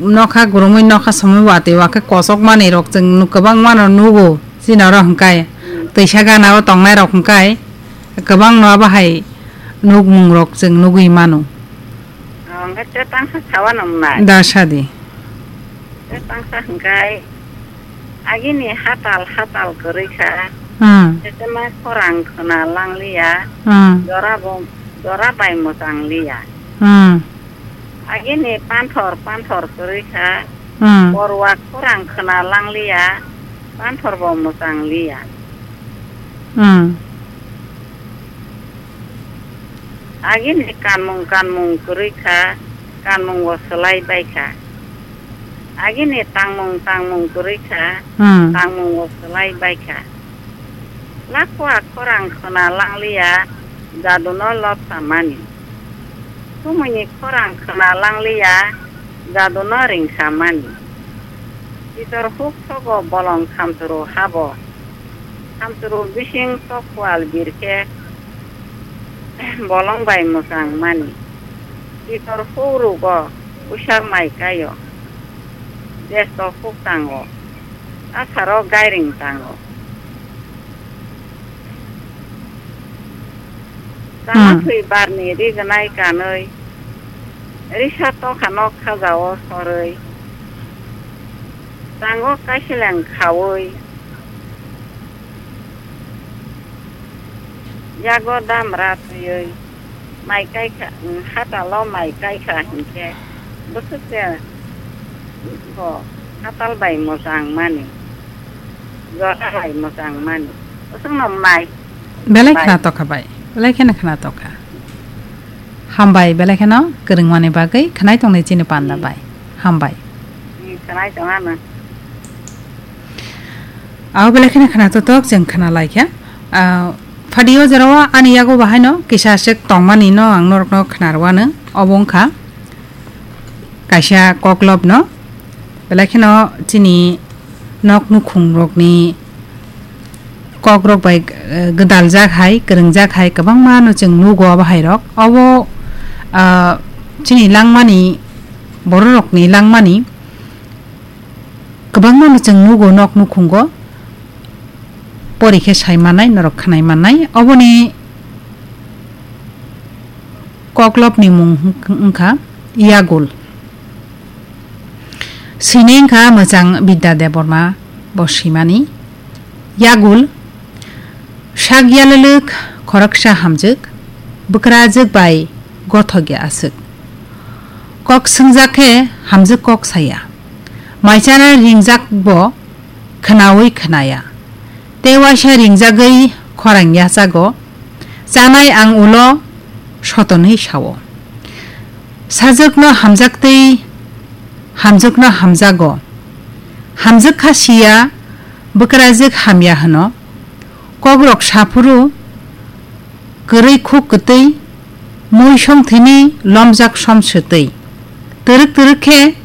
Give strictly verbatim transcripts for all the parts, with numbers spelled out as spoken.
nokha gurumwi nokha somwi watwi wakhe kosok manwi rok chwng nuk-, kwbangma no nugo chini oro hwnkhe twisa gana o tongnai rok hwnkhe kwbang no abo hai nukmung rok chwng nugwi mano. Hwnkhe tei tangsa sawa nang nai. Da sadi. Tei tangsa hwnkhe agini hatal hatal kwrwi kha. Hmm. Tei ma khorang khwna langliya. Hmm. Jora bo jora bai mwchang liya. Hmm. Agini panthor panthor kwrwi kha, hmm, borwa khorang khwna langliya, panthor bo mwchang liya. Hmm. Agini kanmung kanmung kwrwi kha, kanmung bo swlai bai kha. Agini tangmung tangmung kwrwi kha, hmm, tangmung bo swlai bai kha. Lakwa khorang khwna langliya, jaduno lobsa mani. Sumuni khorang khwna langliya, jaduno ringsa mani. Pitor huk sogo bolong khamchuru habo. Khamchuru bising tok kual birkhe bolong bai mwchang mani. Pitor huk rugo uisak mai kaio. Jesto huk tango. Asaro gairing tango. Chana, hmm, thwi barni rignai kanwi, risa tokhano khajao sorwi, chango kaiseleng khaui, yago damra twiwi, mai kaikha, hatalo mai kaikha hinkhe, bwswk se bo hatal bai mwchang mani, jora bai mwchang mani, bwswkno mai. Belai bai khna tokha bai, belai kheno khna tokha. Hambai, belai kheno kwrwngmani bagwi khnai tongnai chini panda bai. Hambai. Hmm, khnai tongano. Abo belai kheno khna totok, chwng khna laikha. Ah, phadio jorao ani yago bahaino kisa aswk tongmani no ang norokno khna rwano. Obo wngkha kaisa koklopno. Belai kheno chini nok nukhung rokni kokrok bai, eh, gwdaljak hai, kwrwngjak hai kwbangma no chwng nugo abo hai rok. Obo, ah, chini langmani, bororokni langmani kwbangma no chwng nugo nok nukhungo. Pori khe sai mannai, norok khwnai mannai. Oboni koklopni mung wng-, wngkha Yagul. Sini wngkha mwchang Bidya Debbarma bo swimani. Yagul, sak yalwlwk khoroksa hamjwk, bwkrajwk bai gothokya aswk. Kok swngjak khe hamjwk kok saya. Mai chana ringjak bo khwnaui khwnaya. Tei waisa ringjagwi khorang yachago. Chanai ang ulo sotonwi sao. Sajwkno hamjaktwi hamjwkno hamjago. Hamjwk kha siya, bwkrajwk hamya hwno. Kokrok saphuru kwrwi khuk kwtwi, mui songthwini lomjak somswtwi. Twrwk twrwk khe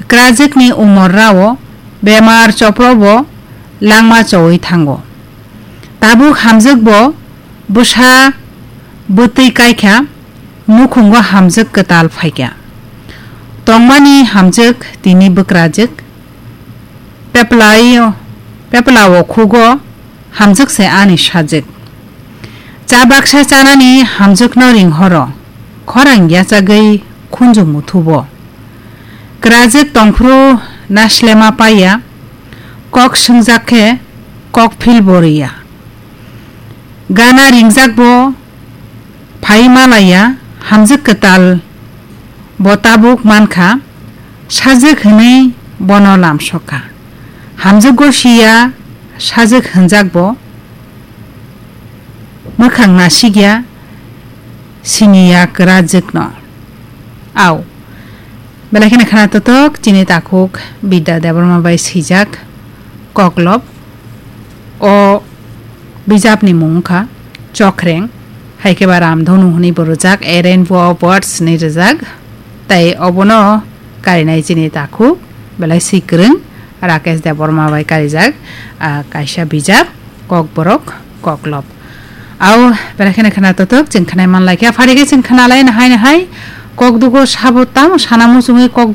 kwrajwkni umor rao bemar choprobo langma chowi thango. Tabuk hamjwkbo bwsa bwtwi kaikha, nukhungo hamjwk kwtal phaikha. Tongmani hamjwk tini bwkrajwk, peplai-, peplao khugo hamjwk se ani sajwk. Cha baksa chanani hamjwkno ringhoro, khorang yachagwi khunju muthubo. Kwrajwk tongphuru naslema paiya, kok swngjak khe kok philbo rwya. Gana ringjak bo phai malaya, hamjwk kwtal bo tabuk mankha, sajwk hwnwi bono lamsokha. Hamjwk go siya, sajwk hwnjak bo mwkhang nasikya siniya kwrajwkno. Au. Belai kheno khna totok, chini takhuk Bidya Debbarma bai swijak koklop. O bijapni mung wngkha Chokreng, hai khe ba Ramdhonu hwnwi bo rwjak, A Rainbow of Words hwnwi rwjak. Tai obono karinai chini takhuk belai swi kwrwng Rakesh Debbarma bai karijak, ah, kaisa bijap. Kokborok, koklop. Au, belai kheno khna totok, chwng khnai man lai khe. Phari khe chwng khna lai nahai nahai. Kok dugo sabo tamo sana muchungwi kok